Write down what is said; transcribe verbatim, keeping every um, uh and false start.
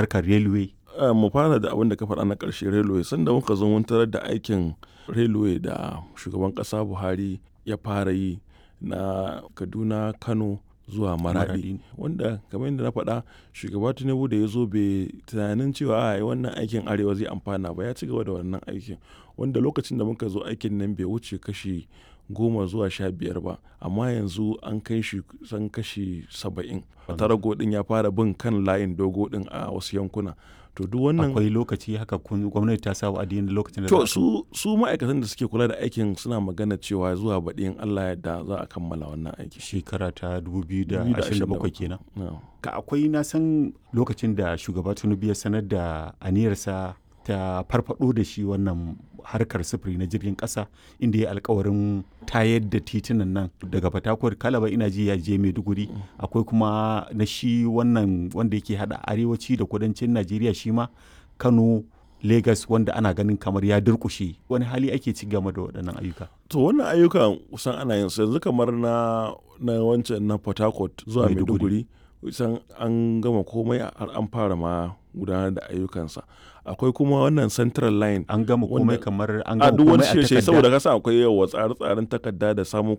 Harkar railway. Uh, mu fara da abin da ka faɗa na ƙarshe, railway. Sanda muka zo mun tarar da aikin railway da shugaban ƙasa Buhari ya fara yi na Kaduna, Kano zuwa Maradi, wanda kamar yadda na faɗa, shugaba Tinubu da ya zo bai tunanin cewa a wannan aikin arewa zai amfana ba, ya ci gaba da wannan aikin, wanda lokacin da muka zo aikin nan bai wuce kashi goma zuwa sha biyar ba, amma yanzu an kai shi san kashi saba'in. Tarago din ya fara bin kan layin dogo din a wasu yankuna. To duk wannan Akwai lokaci haka kun gwamnati ta sa wa'adi na lokacin da to su su ma'aikatan da suke kula da aikin suna magana cewa zuwa baɗi in Allah ya da za a kammala wannan aiki. Shekara ta dubu biyu da ashirin da bakwai kenan. No. Ka akwai na san lokacin da shugaba Tinubu ya sanar da aniyarsa ta farfado da shi wannan harkar sufuri na jirgin kasa, inda ya alkawarin tayar da titunan nan daga Fatakwar, Kalaba, ina ji ya je Maiduguri. Akwai kuma na shi wannan wanda yake hada arewaci da kudancin Najeriya, shi ma Kano Lagos, wanda ana ganin kamar ya durkushe. Wani hali ake ci game da waɗannan ayyuka? To wannan ayyukan kusan ana yin su yanzu, kamar na na wancan na Port Harcourt zuwa Maiduguri, kusan an gama komai, har an fara ma gudanar da ayyukansa. Akwai kuma wannan Central Line. An gama komai kamar an a gama duk wani komai a shirye takarda? Saboda kasa akwai yawa tsare-tsaren takarda da samun kuɗin.